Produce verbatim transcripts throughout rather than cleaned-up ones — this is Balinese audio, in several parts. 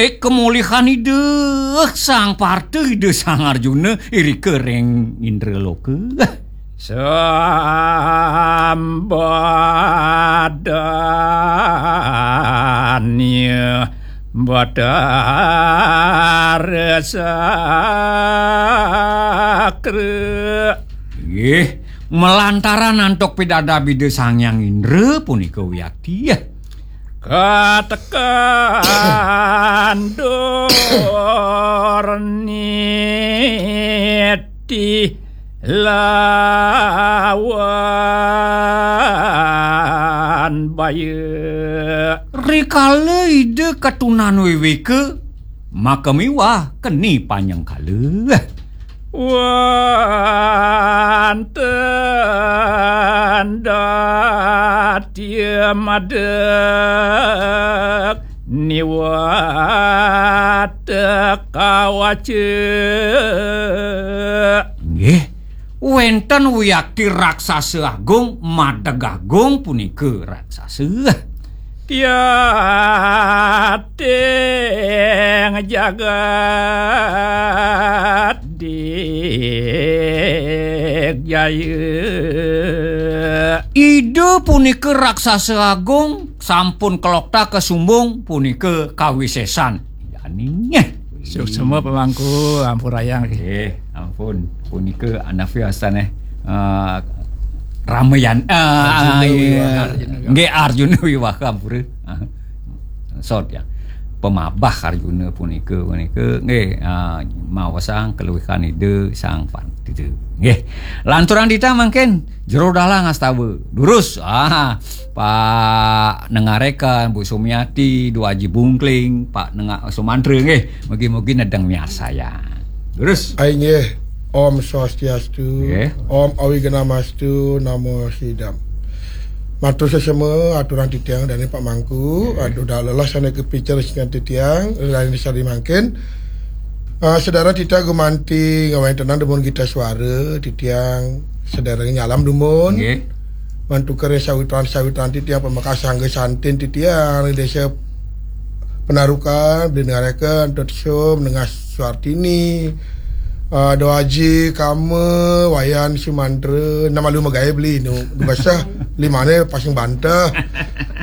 Eh, kemulihan Ida Sang Parta, Ida Sang Arjuna, irika ring Indraloka. Sambadanya Batara Sakra. Nggih, malantaran antuk pidabdab Ida Sang Hyang Indra punika wiakti. Katekan dur niti lawan baya. Rikala Ida katunan wiwika, maka miwah keni panyengkala. Wanten dati madeg niwat kawaca. Nggih, wenten wiakti raksasa agung, madeg agung punika raksasa. Tiating jagat digjaya. Ida punika raksasa agung, sampun kelokta kasumbung punika kawisesan. Jani. Suksma pamangku, ampurayang. Eh, ampun. Punika anapi wastan, eh. Eh, Ramayan, eh, Arjuna iya. Wiwaha Arjuna. Nggih, Arjuna Wiwaha, ampura. Ah, sot ya. Pamabah Arjuna punika, punika nggih, ah, maosang kaluihan Ida Sang Parta. Nggih. Lanturang titah mangkin Jero Dalang Astawa. Durus. Ah, Pak Nengareka, Bu Sumiati, Dua Aji Bungkling, Pak Nenga Sumantra nggih. Mugi-mugi nedeng miarsayang. Durus. Ai nggih. Om Swastiastu. Nggih. Om Awignamastu, Namo Sidam. Matur sesama aturang titiang dane Pak Mangku, nggih. Aduh dah lelah sana kepicar sing titiang, lain sari mangkin. Ah, sedara titah gumanti ngawéntenang dumun gita suara, titiang sedara nyalam dumun. Nggih. Mantuker sawitran-sawitran titiang pamekas sangga santin titiang di desa Penarukan, beli dengarake Antot Sum, nengah Suartini, ah, Doaji, Kama, Wayan, Sumantra, nama lu magaé beli nu, basah limane pasang bantah.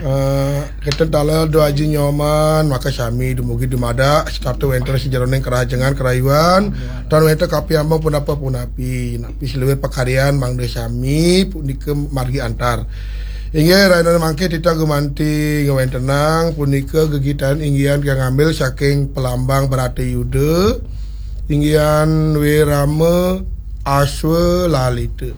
Ah, Kenten taler Doaji Nyoman, maka sami dumugi dumadak, sarta wénten sajeroning kerajengan kerayuan, tan wénten kapiambang punapa-punapi. Napi saluwih pakaryan mangda sami punika margi antar. Inggih, rahina mangke titah gumanti ngawéntenang punika gegitan inggihan kang ngambil saking Pelambang Bratayuda, inggihan Wirama Aswalalita.